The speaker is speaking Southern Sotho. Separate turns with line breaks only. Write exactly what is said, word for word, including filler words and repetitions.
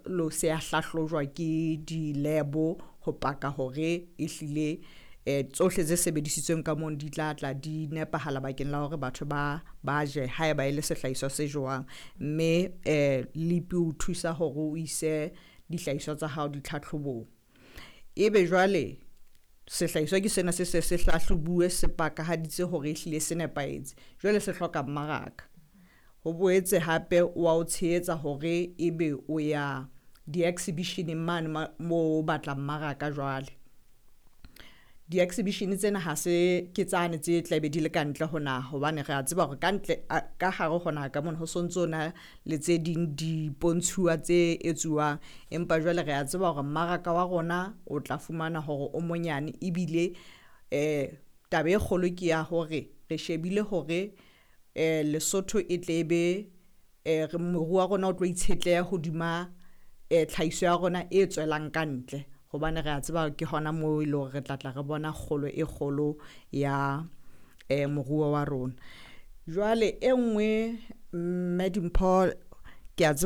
jwalo se a hlahlojwa ke di-lab ho paka hore ehlile eh tsohle tse sebedisitsweng ka mono di tla tla di nepahala bakeng la hore batho ba ba je haeba e le sehlahiswa se jowang. Mme eh LEAP o thusa hore o ise dihlahiswa tsa hao ditlhatlhobong. Ebe jwale sehlahiswa ke sena se se se hlahlobuwe, se pakahaditse hore ehlile se nepahetse, jwale se hloka mmaraka. Ho boetse hape wa o tshehetsa hore ebe o ya di-exhibition-eng mane mo o batla mmaraka. Jwale di-exhibition tsena ha se ke tsane tse tlabe di le ka ntle ho naha, hobane re a tseba hore ka ntle ka hare ho naha ka mona ho sontso na le tse ding dipontshuwa tse etsuwang. Empa jwale re a tseba hore mmaraka wa rona o tla fumana hore o monyane, ebile eh taba e kgolo ke ya hore re shebile hore eh Lesotho e tle be eh moruo wa rona o tlo itshetleha hodima eh tlhahiso ya rona e tswelang ka ntle, hobane re a tseba ke hona moo e leng hore re tla tla re bona kgolo e kgolo ya eh moruo wa rona. Jwale e nngwe, mme Dimpho, ke a tseba.